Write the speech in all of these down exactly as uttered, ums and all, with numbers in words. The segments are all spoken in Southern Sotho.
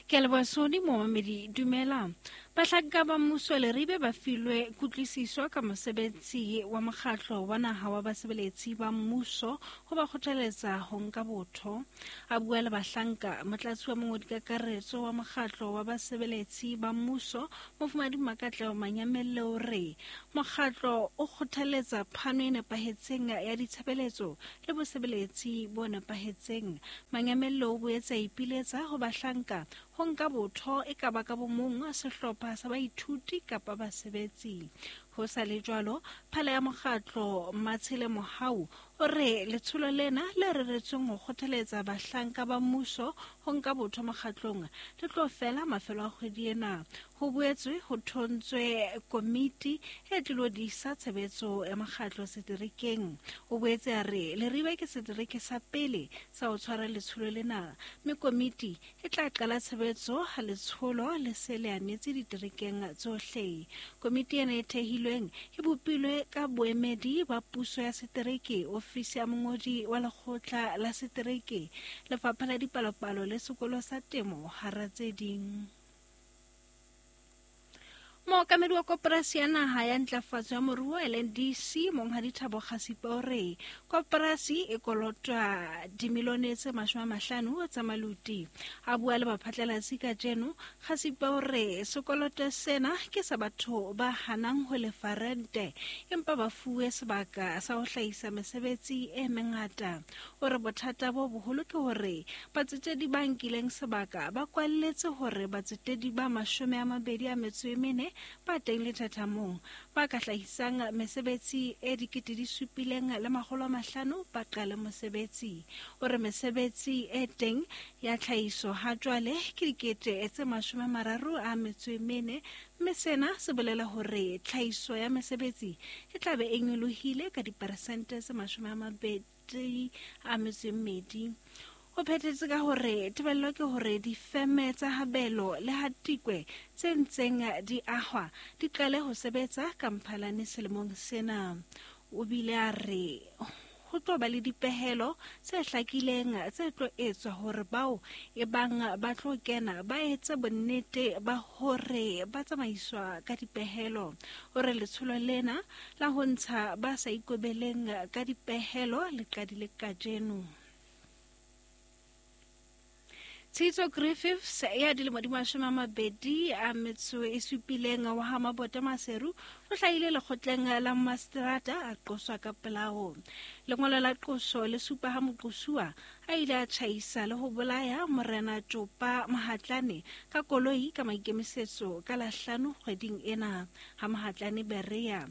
Ke a leboha Sony momamedi dumela. Bahlanka ba mmuso Leribe ba filwe kutlwisiso ka mosebetsi wa mokgatlo wa naha wa basebeletsi ba mmuso ho ba kgothaletsa ho nka botho. A bua le bahlanka, motlatsi wa mongodi kakaretso wa mokgatlo wa basebeletsi ba mmuso, Mofumahadi Makatleho Manyamelle o re mokgatlo o kgothaletsa phano e nepahetseng ya ditshebeletso le bosebeletsi bo nepahetseng. Manyamelle o boetse a ipiletsa ho bahlanka ho nka botho e ka ba ka bomong, sehlopha sa baithuti kapa basebetsi. Ho sa le jwalo, phala ya mokgatlo Matshele Mohau o re letsholo lena le reretsweng ho kgothaletsa bahlanka ba mmuso ho nka botho mokgatlong le tlo fela mafelo a kgwedi ena. Ho boetswe ho thontswe komiti e tlilo disa tshebetso ya mokgatlo seterekeng. O boetse a re Leribe ke setereke sa pele sa ho tshwara letsholo lena, mme komiti e tla qala tshebetso ha letsholo le se le anetse diterekeng tsohle. Komiti ena e thehilweng e bopilwe ka boemedi ba puso ya setereke, ofisi ya mongodi wa lekgotla la setereke, lefapha la dipalopalo le sekolo sa temo hara tse ding. Mookamedi wa koporasi ya naha ya ntlafatso ya moruo L N D C Monghadi Thabo Kgasipa o re koporasi e kolotwa dimilione tse mashome a mahlano tsa maluti. A bua le baphatlalatsi kajeno, Kgasipa o re sekoloto sena ke sa batho ba hanang ho lefa rente empa ba fuwe sebaka sa ho hlahisa mesebetsi e mengata. O re bothata bo boholo ke hore batsetedi ba nkileng sebaka ba kwalletse hore batsetedi ba mashome a mabedi a metso e mene ba teng lethathamong ba ka hlahisang mesebetsi e dikete di supileng le makgolo a mahlano ba qale mosebetsi. O re mesebetsi e teng ya tlhahiso ha jwale ke dikete tse mashome a mararo a metso e mene, mme sena se bolela hore tlhahiso ya mesebetsi e tla be e nyolohile ka diperesente tse mashome a mabedi a metso e mmedi. O phethetse ka hore tebello ke hore difeme tsa Habelo le Hatikwe tse ntseng di ahwa di qale ho sebetsa ka Mphalane selemong sena. O bile a re ho tlo ba le dipehelo tse hlakileng tse tlo etswa hore bao e bang ba tlo kena ba etse bonnete ba hore ba tsamaiswa ka dipehelo. O re letsholo lena la ho ntsha ba sa ikobeleng ka dipehelo le qadile kajeno. Tshitso Griffiths ya dilemo di mashome a mabedi a metso e supileng wa ha Mabota Maseru o hlahile lekgotleng la Maseterata a qoswa ka polao. Lengolo la qoso le supa ha moqosuwa a ile a tjhaisa le ho bolaya Morena Tjopa Mahatlane ka koloi ka maikemisetso ka la hlano kgweding ena ha Mahatlane Berea.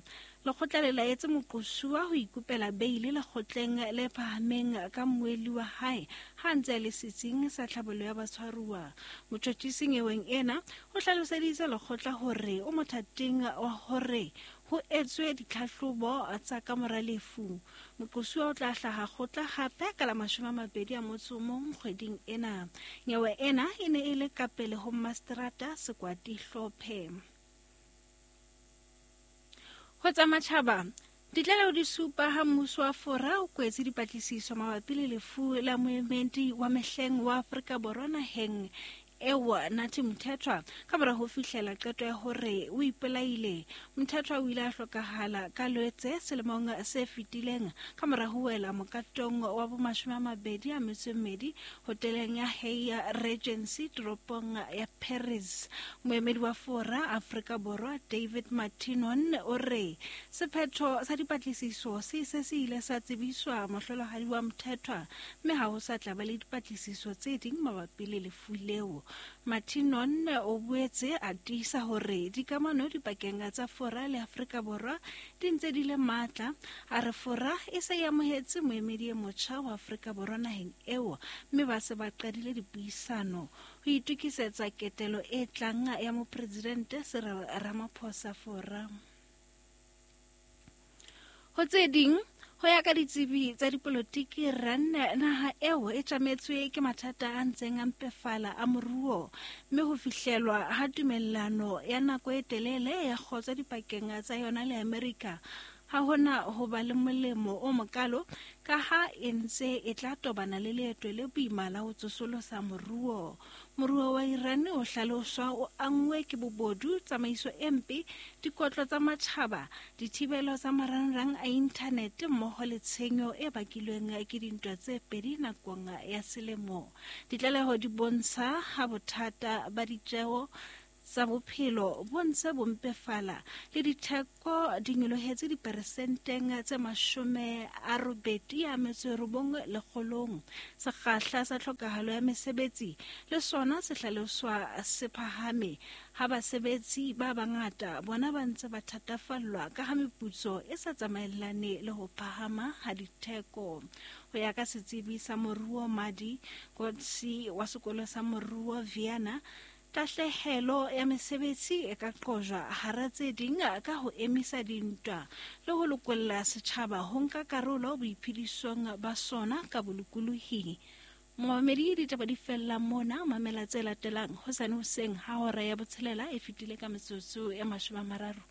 Lekgotla le laetse moqosuwa ho ikopela beile lekgotleng le phahameng ka mmuelli wa hae ha ntse a le setsing sa tlhabollo ya batshwaruwa. Motjhotjhisi nyeweng ena o hlaloseditse lekgotla hore o mothating wa hore ho etswe ditlhahlobo tsa kamora lefu. Moqosuwa o tla hlaha kgotla hape ka la mashome a mabedi a motso o mong kgweding ena. Nyewe ena e ne e le ka pele ho Maseterata Sekwati Hlophe. Ho tsa matjhaba, ditlaleho di supa ha mmuso wa Fora o kwetse dipatlisiso mabapi le lefu la moemedi wa mehleng wa Afrika Borwa naheng eo Nathi Mthethwa ka mora ho fihlela qeto ya hore o ipolaile. Mthethwa o ile a hlokahala ka Lwetse selemong se fetileng ka mora ho wela mokatong wa bomashome a mabedi a metso e mmedi hoteleng ya Hyatt Regency toropong ya Paris. Moemedi wa Fora Afrika Borwa David Martinon o re sephetho sa dipatlisiso se se se ile sa tsebiswa mohlolohadi wa Mthethwa, mme ha ho sa tla ba le dipatlisiso tse ding mabapi le lefu leo. Martinon o boetse a tiisa hore dikamano dipakeng tsa Fora le Afrika Borwa di ntse di le matla. A re Fora e se e amohetse moemedi e motjha wa Afrika Borwa naheng eo, mme ba se ba qadile dipuisano ho itokisetsa ketelo e tlang ya mopresidente Cyril Ramaphosa Fora. Ho tse ding, ho ya ka ditsebi tsa dipolotiki, R A N naha eo e tjametswe ke mathata a ntseng a mpefala a moruo, mme ho fihlelwa ha tumellano ya nako e telele ya kgotso dipakeng tsa yona le Amerika ha hona ho ba le molemo o mokalo ka ha e ntse e tla tobana le leeto le boima la ho tsosolosa moruo. Moruo wa Iran o hlaloswa o anngwe ke bobodu, tsamaiso e mpe, dikotlo tsa matjhaba, dithibelo tsa marangrang a inthanete mmoho le tshenyo e bakilweng ke dintwa tse pedi nakong ya selemo. Ditlaleho di bontsha ha bothata ba ditjeo tsa bophelo bo ntse bo mpefala le ditheko di nyolohetse diperesenteng tse mashome a robedi a metso e robong lekgolong. Sekgahla sa tlhokahalo ya mesebetsi le sona se hlaloswa se phahame ha basebetsi ba bangata bona ba ntse ba thatafallwa ka ha meputso e sa tsamaellane le ho phahama ha ditheko. Ho ya ka setsebi sa moruo Madi Kotsi wa sekolo sa moruo Vienna, tahlehelo ya mesebetsi e ka qojwa hara tse ding ka ho emisa dintwa le ho lokolla setjhaba ho nka karolo boiphedisong ba sona ka bolokolohi. Momamedi, ditaba di fella mona. Mamela tse latelang hosane hoseng ha hora ya botshelela e fetile ka metsotso e mashome a mararo.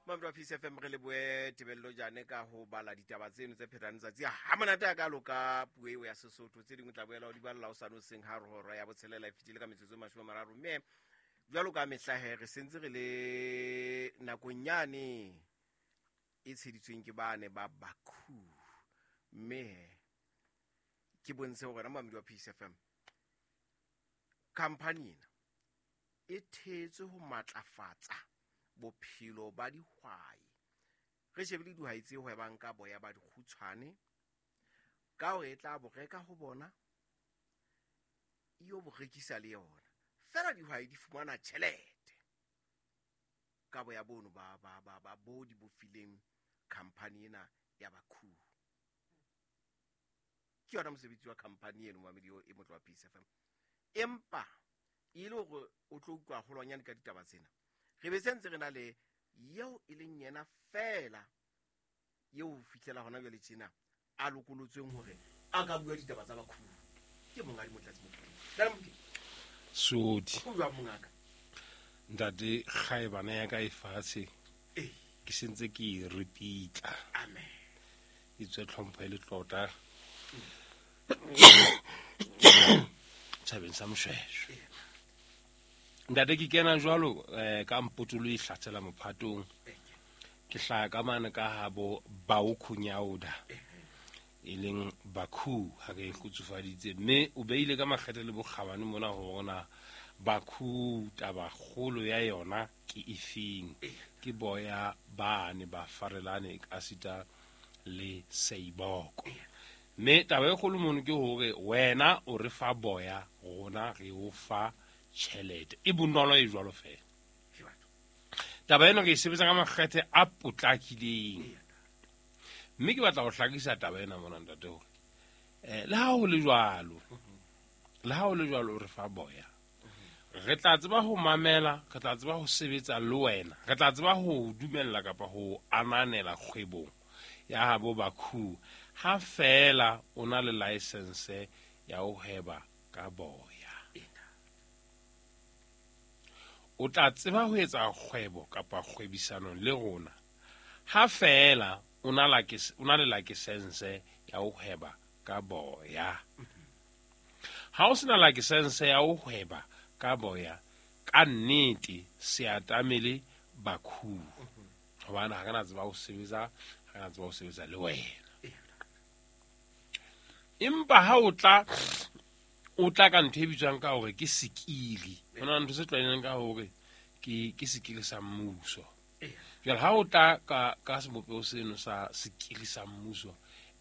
Mamelo Peace F M re leboe Tebello Jane ka ho bala ditaba tseno tse phethang tsatsi ha monate a kalo ka puo eo ya Sesotho. Tse dingwe tla boela o di balla o sane hoseng ha hora ya botshelela e fetile ka metsotso e mashome a mararo. Mme jwalo ka mehla he re sentse re le nakong yane e tsheditsweng ke bane ba Baku, mme ke bontshe hore Mamelo Peace F M company ena e thetswe ho matlafatsa bophelo ba dihwai. Re shebile dihwai tse hwebang ka boya ba dikgutshwane ka hore e tla bo reka ho bona e yo bo rekisa le yona. Fela dihwai di fumana tjhelete ka boya bono ba ba ba ba bo di bofileng company ena ya Baku. Ke yona mosebetsi wa company eno mamedi e motlo wa Peace F M. Empa e le hore o tlo utlwa holwanyane ka ditaba tsena, re be sentse re na le eo e leng yena fela eo fihlela hona jwale tjena a lokolotsweng hore a ka bua ditaba tsa Baku ke Monghadi Motlatsi Mofokeng. Ntate Mofokeng. Sodi. O jwang mongaka? Ntate kgaebana ya ka e fatshe. Eh. Ke sentse ke e ripitla. Amen. E tswe tlhompho e le tlota. Tjhabeng sa Moshweshwe. Ntate ke kena jwalo eh ka mpotolo e hlatsela mophatong. Ke hlaya ka mane ka ha bo Baokhunyaoda e leng Baku ha ke kgutsufaditse, mme o beile ka makgethe le bokgabane mona ho rona Baku taba kgolo ya yona ke efeng. Ke boya bane ba farelane ka sita le seiboko. Mme taba e kgolo mono ke hore wena o re fa boya, rona re o fa tjhelete. E bonolo e jwalo fela. Taba ena ke e sebetsa ka makgethe a potlakileng. Mme ke batla ho hlakisa taba ena mona ntate hore eh le ha ho le jwalo, le ha ho le jwalo o re fa boya, re tla tseba ho mamela, re tla tseba ho sebetsa le wena, re tla tseba ho dumella kapa ho ananela kgwebong ya habo Baku ha fela o na le license ya ho hweba ka boya. O tla tseba ho etsa kgwebo kapa kgwebisano le rona ha fela o na le license ya ho hweba ka boya. Ha o sena license ya ho hweba ka boya, ka nnete se atamele Baku hobane ha re na tseba ho sebetsa, ha re na tseba ho sebetsa le wena. Empa ha o tla o tla ka ntho e bitswang ka hore ke sekili, ho na le ntho se tlwaelehileng ka hore ke ke sekili sa mmuso. Jwale ha o tla ka ka sebopeho seno sa sekili sa mmuso,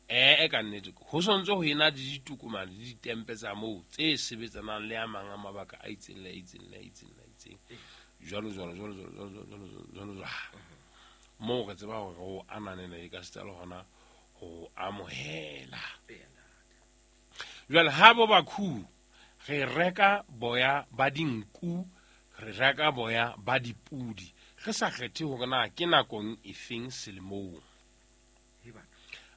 eh ka nnete ho sontse ho ena le ditokomane le ditempe tsa moo tse sebetsanang le a mang a mabaka a itseng le a itseng le a itseng le a itseng jwalo jwalo jwalo jwalo jwalo jwalo jwalo. Moo re tseba hore o ananela e ka seta le hona ho amohela. Jwale ha bo Baku re reka boya ba dinku, re reka boya ba dipudi, re sa kgethe hore na ke nakong efeng selemong.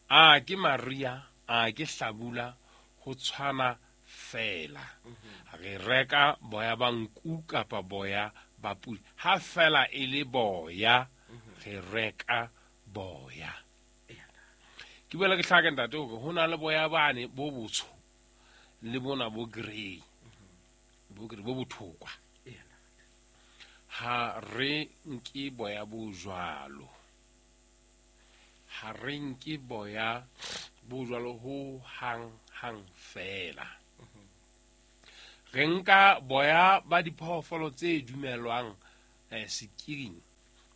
A ke maria, a ke hlabula, ho tshwana fela. Re reka boya ba nku kapa boya ba pudi, ha fela e le boya, re reka boya. Ke boela ke hlaka ntate hore ho na le boya bane bo botsho le bona bo grey, bo grey bo bothokwa. Ha re nke boya bo jwalo, ha re nke boya bo jwalo ho hang hang fela. Re nka boya ba diphoofolo tse dumelwang eh, sekiring,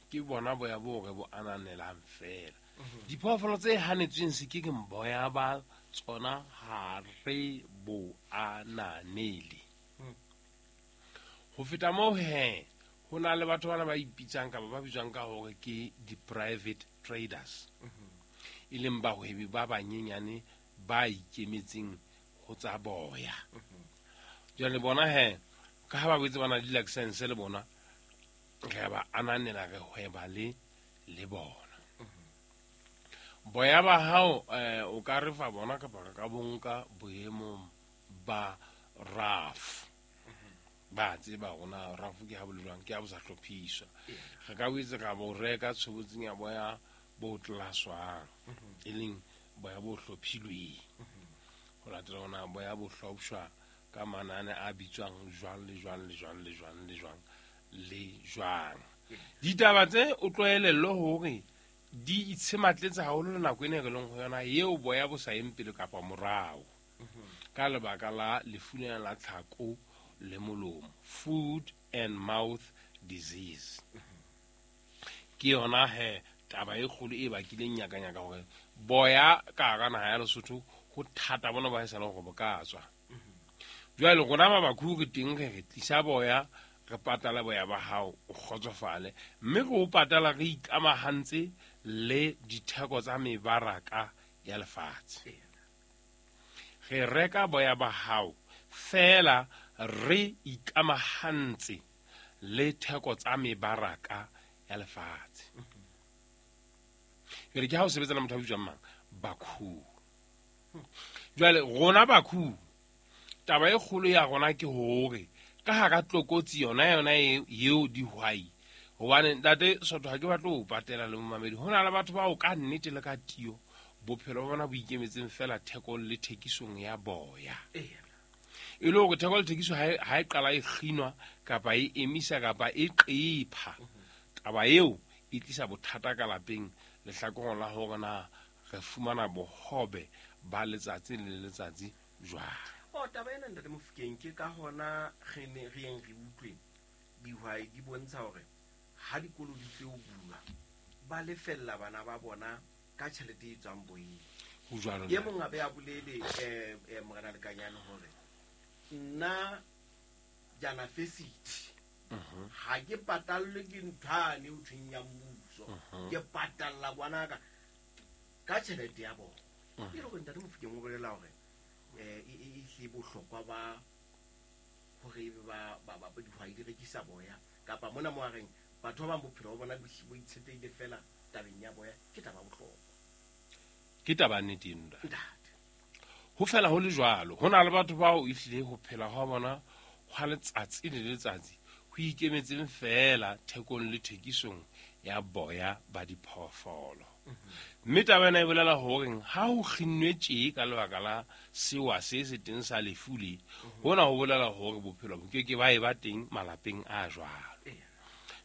ke bona boya bo re bo ananelang fela. Diphoofolo tse hanetsweng sekiring boya ba tsona ha re bo ananele. Ho feta moo he, ho na le batho bana ba ipitsang kapa ba bitswang ka hore ke di-private traders, e leng bahwebi ba banyenyane ba ikemetseng ho tsa boya. Jwale bona he, ka ha ba boetse ba na le di-license le bona, re ba ananela, re hweba le le bona. Boya ba hao eh, o ka re fa bona kapa re ka bo nka boemong ba rough. Ba tseba rona rough ke ha bo le jwang, ke ha bo sa hlophiswa. Re ka boetse ra bo reka tshobotsing ya boya bo tlaswang, e leng boya bo hlophilweng. Ho latela hona boya bo hlopshwa ka manane a bitswang jwang le jwang le jwang le jwang le jwang le jwang. Ditaba tse o tlwaelellwe hore di itshematletse haholo le nako ena e re leng ho yona eo boya bo sa yeng pele kapa morao, ka lebaka la lefu lena la tlhako le molomo, food and mouth disease. Ke yona he taba e kgolo e bakileng nyakanyaka hore boya ka hara naha ya Lesotho ho thata bona ba haesale hore bo ka tswa. Jwale rona ba Bakhu re teng re re tlisa boya, re patala boya ba hao o kgotsofale, mme re o patala re ikamahantse le ditheko tsa mebaraka ya lefatshe. Re reka boya ba hao fela re ikamahantse le theko tsa mebaraka ya lefatshe. Ke re ke ha o sebetsa le motho a bitswang mang, Bakhu. Jwale rona Bakhu, taba e kgolo ya rona ke hore ka hara tlokotsi yona yona eo dihwai, hobane ntate Sotho ha ke batle ho patela le momamedi, ho na le batho bao ka nnete le ka tiyo bophelo ba bona bo ikemetseng fela thekong le thekisong ya boya. E le hore theko le thekiso ha e qala e kginwa kapa e emisa kapa e qepha, taba eo e tlisa bothata ka lapeng lehlakoreng la hore na re fumana bohobe ba letsatsi le letsatsi jwang. O taba ena ntate Mofokeng, ke ka hona re ne re yeng re utlwe dihwai di bontsha hore ha dikolo di tlo bulwa ba lefella bana ba bona ka tjhelete e tswang boyeng. Ho jwalo. E mong a be a bolele eh, eh, Morena Lekanyane hore nna janafesiti ha ke patallwe ke nthwane ho thweng ya mmuso, ke patalla ngwanaka ka tjhelete ya bona. E le hore ntate Mofokeng o bolela hore eh e e bohlokwa ba hore ba ba ba dihwai di rekisa boya kapa mona mo a reng batho ba bang bophelo ba bona bo itshetlehile fela tabeng ya boya, ke taba bohlokwa. Ke taba nnete eno ntate. Ho fela ho le jwalo, ho na le batho bao ehlile ho phela hwa bona hwa letsatsi le letsatsi ho ikemetseng fela thekong le thekisong ya boya ba diphoofolo. Mme taba ena e bolela horeng ha ho kginnwe tje ka lebaka la sewa se se teng sa lefu le, hona ho bolela hore bophelo bo ke ke ba e ba teng malapeng a jwalo.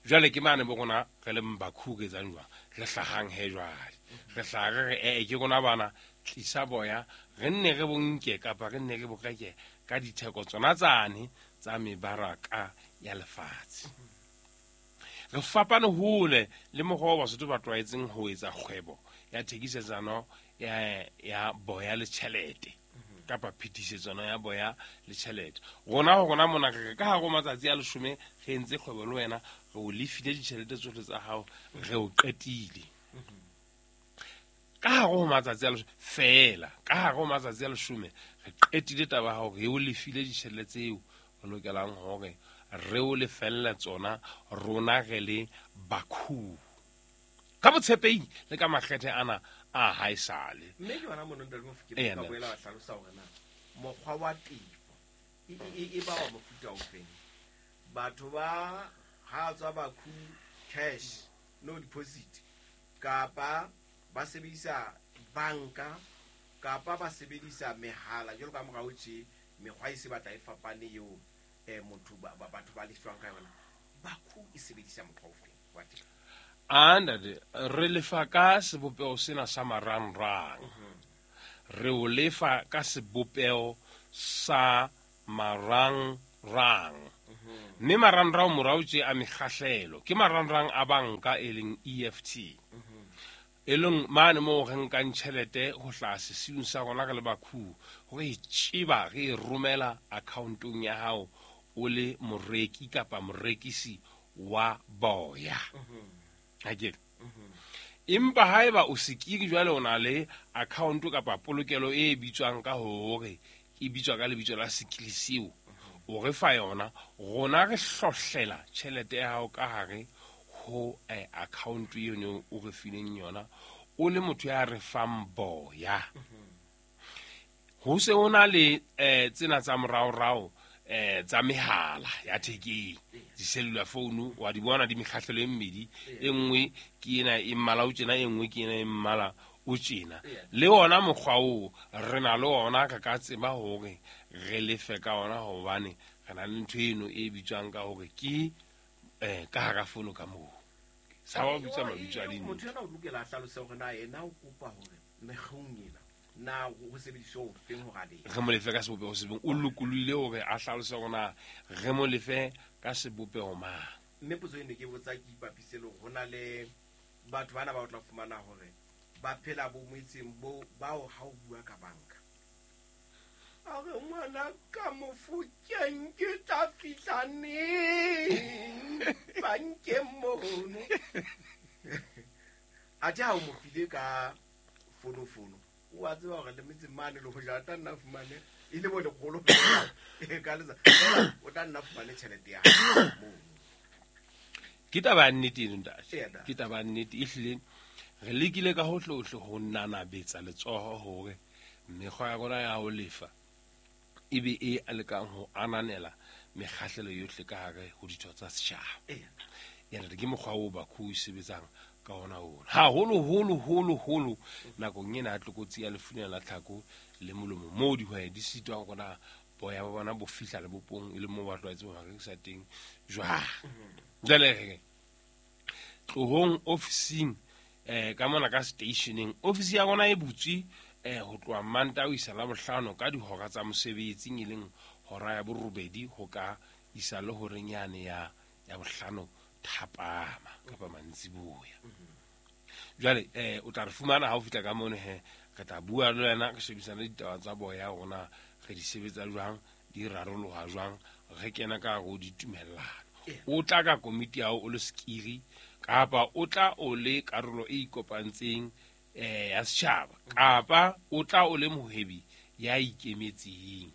Jwale ke mane bo rona re le Bakhu re etsang jwang, re hlahang he jwale, re hlaha re re ee ke rona bana tlisa boya re nne re bo nke kapa re nne re bo reke ka ditheko tsona tsane tsa mebaraka ya lefatshe. Re fapane hole le mokgwa wa Basotho ba tlwaetseng ho etsa kgwebo ya thekisetsano ya ya boya le tjhelete kapa phetisetsano ya boya le tjhelete. Rona ho rona mona re ka hare ho matsatsi a leshome re entse kgwebo le wena, re o lefile ditjhelete tsohle tsa hao, re o qetile. Ka hare ho matsatsi a leshome fela, ka hare ho matsatsi a leshome re qetile taba ya hao, re o lefile ditjhelete tseo re lokelang hore re o lefella tsona rona re le Bakhu. Ka botshepehi le ka makgethe ana a haesale. Mme ke yona mono ntate Mofokeng ka boela wa hlalosa hore na mokgwa wa tefo E ba wa mofuta ofeng? Batho ba ha tswa Bakhu cash no deposit, kapa ba sebedisa banka, kapa ba sebedisa mehala jwalo ka morao tje, mekgwa e se batla e fapane eo eh motho ba batho ba lefang ka yona. Bakhu e sebedisa mokgwa ofeng wa teng? Andate re lefa ka sebopeho sena sa marangrang. Re o lefa ka sebopeho sa marangrang. Mme marangrang morao tje a mekgahlelo ke marangrang a banka e leng E F T. E leng mane moo re nkang tjhelete ho hlaha sesiung sa rona re le Bakhu, re e tjeba re e romela accountong ya hao o le moreki kapa morekisi wa boya. Akere empa haeba o sekiri jwale o na le account kapa polokelo e bitswang ka hore e bitswa ka lebitso la sekiri seo, o re fa yona, rona re hlohlela tjhelete ya hao ka hare ho eh, account eno o re fileng yona o le motho ya re fang boya. Ho se o na le eh, tsena tsa moraorao eh tsa mehala ya thekeng, di-cellular phone wa di bona di mekgahlelo e mmedi, e nngwe ke ena e mmala o tjena, e nngwe ke ena e mmala o tjena. Le ona mokgwa oo re na le ona, re ka tseba hore re lefe ka ona hobane re na le ntho eno e bitswang ka hore ke eh ka hara fono ka moo. Sa ba bitsa mabitso a dintho. Motho ena o lokela a hlalose hore na yena o kopa hore mekgong ena na ho sebediswa o feng hore a lefe. Re mo lefe ka sebopeho se beng, o lokolohile hore a hlalose hore na re mo lefe ka sebopeho mang. Mme potso eno ke botsa ke ipapise le hore ho na le batho bana ba o tla fumana hore ba phela bo motseng bo bao ha o bua ka banka. A re ngwana ka Mofokeng ke tla fihla neng bankeng mono? Athe ha o mo file ka fonofono, o a tseba hore le metseng mane le hoja a tla nna fumane e le bo lekgolo ka letsa, o tla nna fumane tjhelete ya hae mono. Ke taba ya nnete eno ntate, ke taba ya nnete ehlile. Re lekile ka hohle-hohle ho nanabetsa letsoho hore mekgwa ya rona ya ho lefa e be e lekang ho ananela mekgahlelo yohle ka hare ho ditho tsa setjhaba. Ena ke mokgwa oo Bakhu e sebetsang ka ona ona. Haholo-holo, holo, holo nakong ena ya tlokotsi ya lefu lena la tlhako le molomo, moo dihwai di sitwang hore na boya ba bona bo fihla lebopong e le moo ba tlwaetseng ho rekisa teng jwang. Jwale re tlohong ofising eh ka mona ka stationeng, ofisi ya rona e butswe eh ho tloha Mantaha ho isa Labohlano ka dihora tsa mosebetsing, e leng hora ya borobedi ho ka isa le horeng yane ya ya bohlano thapama kapa mantsiboya. Jwale eh o tla re fumana ha o fihla ka mono he, re tla bua le wena, re shebisane ditaba tsa boya rona re di sebetsa jwang, di raroloha jwang, re kena ka hare ho ditumellano. O tla ka komiti ya hao o le sekiri kapa o tla o le karolo e ikopantseng eh ya setjhaba, kapa o tla o le mohwebi ya ikemetseng.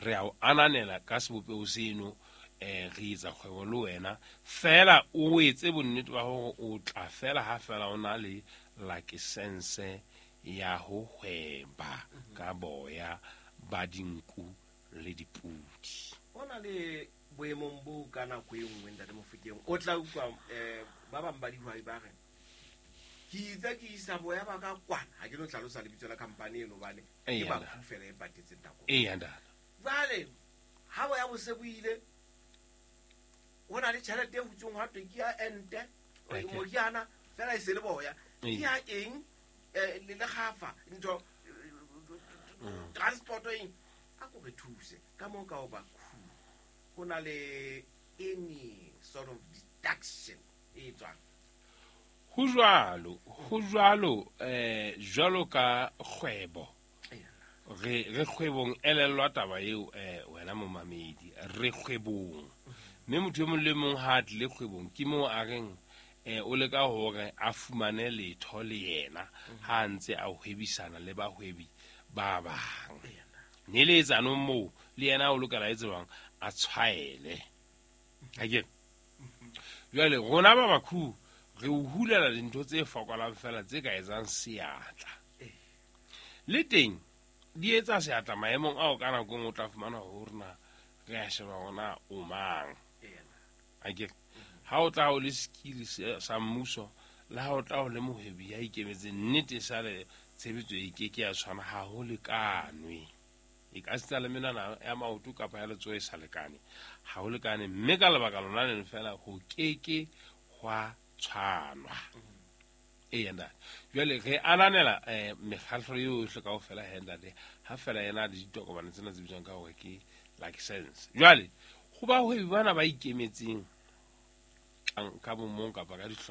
Re a o ananela ka sebopeho seno, eh re etsa kgwebo le wena fela o etse bonnete ba hore o tla fela ha fela o na le lakesense ya ho hweba ka boya ba dinku le dipudi. O na le boemong bo ka nako e nngwe ntate Mofokeng, o tla utlwa eh ba bang ba dihwai ba re ke itse ke isa boya ba ka kwana, ha ke no hlalosa lebitso la company eno hobane ke Bakhu fela e patetseng nako. Eya ntate. Jwale ha boya bo se bo ile, ho na le tjhelete e hutsweng ha thwe ke ya ente moriana fela e se le boya, ke ya eng eh le lekgafa ntho transport eng, a ko re thuse ka moo ka ho Bakhu ho na le any sort of deduction e tswang. Ho jwalo, ho jwalo eh jwalo ka kgwebo. Re re kgwebong elellwa taba eo eh wena momamedi, re kgwebong. Mme motho e mong le mong ha a tlile kgwebong ke moo a reng eh o leka hore a fumane letho le yena ha a ntse a hwebisana le bahwebi ba bang. Neletsano moo le yena o lokela etse jwang a tshwaele. Akere jwale rona ba Bakhu re o hulela dintho tse fokolang fela tse ka etsang seatla. Le teng Di etsa seatla maemong ao ka nako e nngwe o tla fumana hore na re a sheba hore na o mang. Akere ha o tla o le skill sa mmuso le ha o tla o le mohwebi ya ikemetseng, nnete sale tshebetso e ke ke ya tshwana, ha ho lekanwe. E ka sita le menwana ya maoto kapa ya letsoho e sa lekane, ha ho lekane, mme ka lebaka lona leno fela ho ke ke hwa tshwanwa. Eya ntate, jwale re ananela um mekgatlo yohle kaofela he ntate, ha fela ena le ditokomane tsena tse bitswang ka hore ke license. Jwale ho bahwebi bana ba ikemetseng ka bomong kapa ka dihlopha.